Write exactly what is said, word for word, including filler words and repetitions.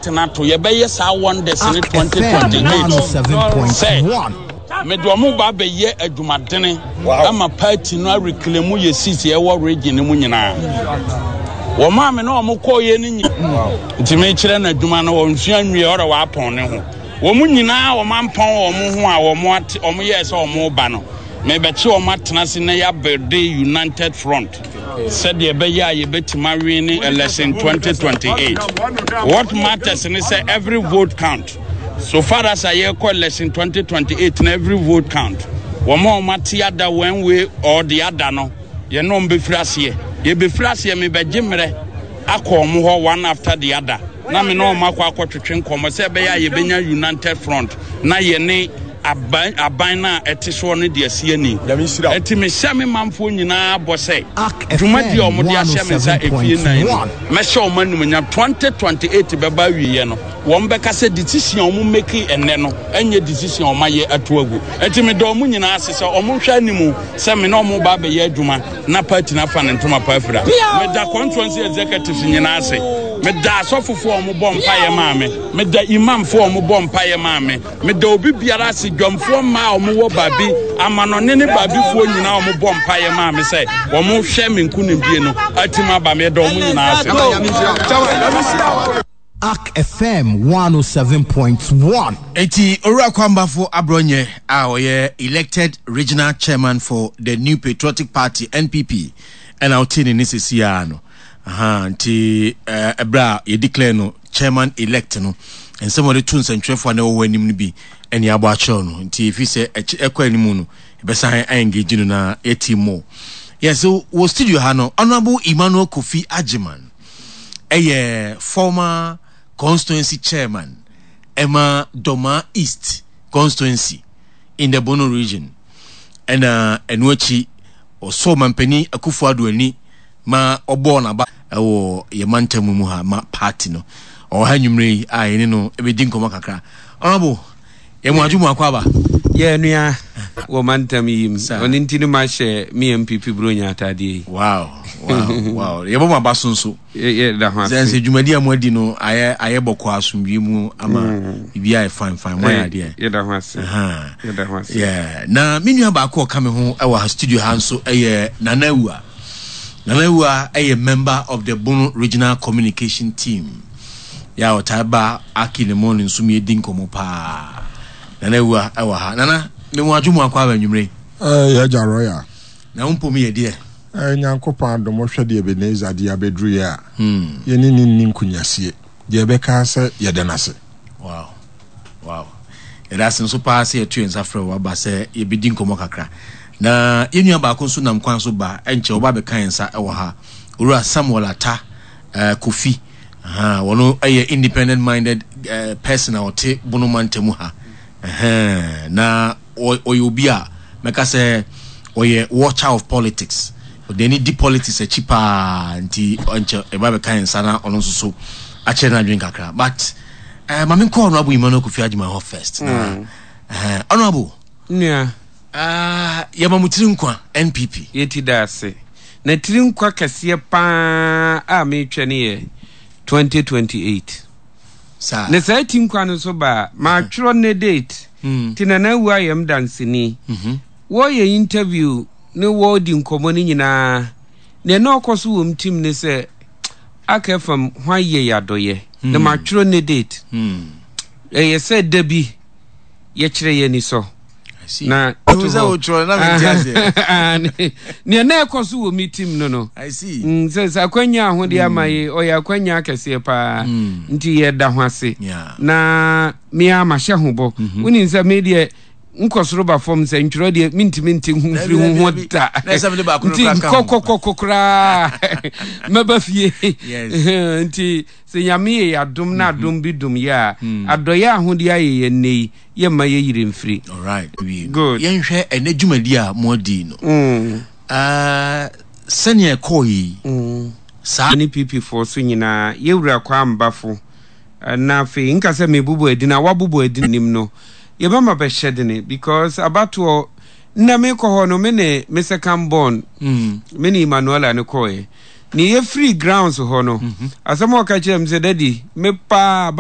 Tena to yɛbɛyɛ saa wonders ne twenty twenty-eight sɛ mede ɔmo ba abɛyɛ adwumadene ama party no areclaim yɛ seat ɛwɔ region no mu nyinaa. Wɔn a me ne ɔmo kɔɔyɛ no nyi nti mekyerɛ no adwuma no, wɔnsua nwie, ɔrɛ wɔapɔn ne ho. Wɔn nyinaa wɔn ampɔn wɔn ho a wɔn ate wɔn yɛɛ sɛ wɔn ba no, mebɛkye wɔn atena ase na yɛabuild united front sɛdeɛ ɛbɛyɛ a yɛbɛtumi awin ne election twenty twenty-eight. What matters ne sɛ every vote count. So far as a yɛkɔ election twenty twenty-eight na every vote count. Wɔn a wɔn ate ada one way or the other no, yɛn no bɛfiri aseɛ, yɛbɛfiri aseɛ. Mebɛgye mmerɛ akɔ wɔn hɔ one after the other na me ne wɔn akɔ akɔtwetwe nkɔmmɔ sɛ ɛbɛyɛ a yɛbɛnya united front na yɛne aban aban no a ɛte soɔ no de asi ani. Ɛnti mehyɛ me manfoɔ nyinaa bɔ sɛ dwumadi a wɔde ahyɛ me nsa efie nan no, mɛhyɛ wɔn animuonyam. twenty twenty-eight bɛba awieɛ no, wɔn bɛka sɛ decision a wɔn make ɛnɛ no ɛnyɛ decision a wɔn ayɛ ato agu. Ɛnti meda wɔn nyinaa ase sɛ wɔn nhwɛ anim sɛ me ne wɔn ba abɛyɛ adwuma na party no afa ne ntoma pa afira. Meda constituency executives nyinaa ase, meda asɔfofoɔ a wɔn bɔ mpaeɛ maa me, meda imamfoɔ a wɔn bɔ mpaeɛ maa me, meda obi biara ase, dwamfoɔ mmaa a wɔwɔ baabi amanɔne ne baabifoɔ nyinaa a wɔbɔ mpaeɛ maa me sɛ wɔn hwɛ me nkonimdie no atim aba. Meda wɔn nyinaa ase. Ark F M one oh seven point one. Eti Owura Kwambafo Abrɔnyɛ a ɔyɛ elected regional chairman for the New Patriotic Party, N P P, ɛna ɔte ne ne sisi no aha. Nti ɛberɛ a yɛdeclare no chairman elect no, nsɛm a ɔde to nsɛntwerɛfoɔ a na ɛwɔ hɔ anim no bi ɛne abɔ akyerɛw no. Nti ɛfiri sɛ ɛkɔ anim no, ɛbɛsan engage no na yɛti more. Yes, so wɔ studio ha no, Honorable Emmanuel Kofi Agyeman ɛyɛ former constituency chairman ɛma Doma East Constituency in the Bono Region, ɛna ɛno akyi ɔsɔ mampanin Akufo Addo ani ma ɔbɔɔ n'aba ɛwɔ yɛ mantam mu ha ma party no. Ɔwɔ ha nnwumire yi a yɛne no ɛbɛdi nkɔmmɔ kakra. Honorable, yɛmu adwo mu akɔ aba. Yɛ nua wɔ mantam yi mu, ɔno nti no mahyɛ me N P P buronya atadeɛ yi. wow wow wow yɛbɔ mu aba so nso. Yɛda ho ase sɛ dwumadi a moadi no ayɛ ayɛ bɔkɔ asomdwie mu ama biribi ayɛ fine fine, moayɛ adeɛ. Yɛda ho ase, yɛda ho ase. Yeah. Na me nua baako a ɔka me ho ɛwɔ ha studio ha nso ɛyɛ Nana Awua. Nana Awua ɛyɛ member of the Bono Regional Communication Team yɛ a ɔtaa ba Aki ne mo ne nso mi edi nkɔmmɔ paa. Nana Awua ɛwɔ ha. Nana, me mu adwo mu akɔ aba anwummere. Yɛgya royal. Na wo mpom yɛ deɛ? Nyankopɔn adom, wohwɛ deɛ Ebenezer de abɛduru yɛ a, yɛne ne nni nkonyasie deɛ, ɛbɛka sɛ yɛda no ase. wow wow yɛda ase nso paa sɛ yɛto yɛn nsa frɛ wo aba sɛ yɛbɛdi nkɔmmɔ kakra. Na yɛn nua baako nso nam kwan so ba, ɛnkyɛ wɔba bɛka yɛn nsa ɛwɔ ha, Owura Samuel Ata uh, Kofi. uh, wɔno ɛyɛ independent minded uh, person a ɔte Bono mantam ha. uh, na ɔyɛ obi a mɛka sɛ ɔyɛ watcher of politics, ɔde ani di politics akyi paa, nti ɔnkyɛ ɛba bɛka yɛn nsa na ɔno nso so akyerɛ n'adwene kakra. But uh, maame nkɔ Honorable Emmanuel Kofi Agyeman hɔ first na mm. uh, Honorable Nua. uh, yɛma mo tiri nkwa, N P P. Yɛti da ase na tiri nkwa kɛseɛ paa a metwɛ ne yɛ twenty twenty-eight. Saa. Ne saa ti nkwa no so baa maatwerɛ ne date nti Nana awu ayɛ m danseni. Wɔyɛ interview ne wɔredi nkɔmmɔ no nyinaa, nea na ɔkɔ so wɔ m tim ne sɛ aka fam hwan yɛ yɛ adɔyɛ na matwerɛ ne date. Ɛyɛ sɛ da bi yɛkyerɛ yɛ ani sɔ na sɛ wotwerɛ na mente aseɛ. Nea na ɛkɔ so wɔ me tim no no I see. Mm, sɛ sɛ akwanya ahode ama yi, ɔyɛ akwanya akɛseɛ paa, nti yɛda ho ase. Yeah. Na mea mahyɛ ho bɔ. Wonim sɛ me deɛ nkɔ soro ba fam sɛ ntwerɛ deɛ, mentumi nte ho mfiri ho ho da. Na ɛsɛ mede baako no nti koraa ka ho. Nkɔkɔkɔkɔ koraa mɛba fie. Yes. Nti sɛ Nyame yɛ yɛ adom na adom bi dom yɛ a, adɔyɛ ahodeɛ ayɛ yɛ nnɛ yi, yɛmma yɛyere mfiri. Alright. Good. Yɛnhwɛ ɛnɛ dwumadi a moadi no. Mm. Uh, sɛnea ɛkɔɔ yi saa. Ne P P foɔ so nyinaa, yɛwura kɔ ambafo na afei nka sɛ mebobɔ adi na wabobɔ adi nim no, yɛbɛma bɛhyɛ dene because abatoɔ nna mekɔ hɔ no, me ne me second born, me ne Emmanuela no kɔɛ ne yɛfiri grounds hɔ no, asɛm a ɔka kyerɛ m sɛ, "Daddy, me paa abatoɔ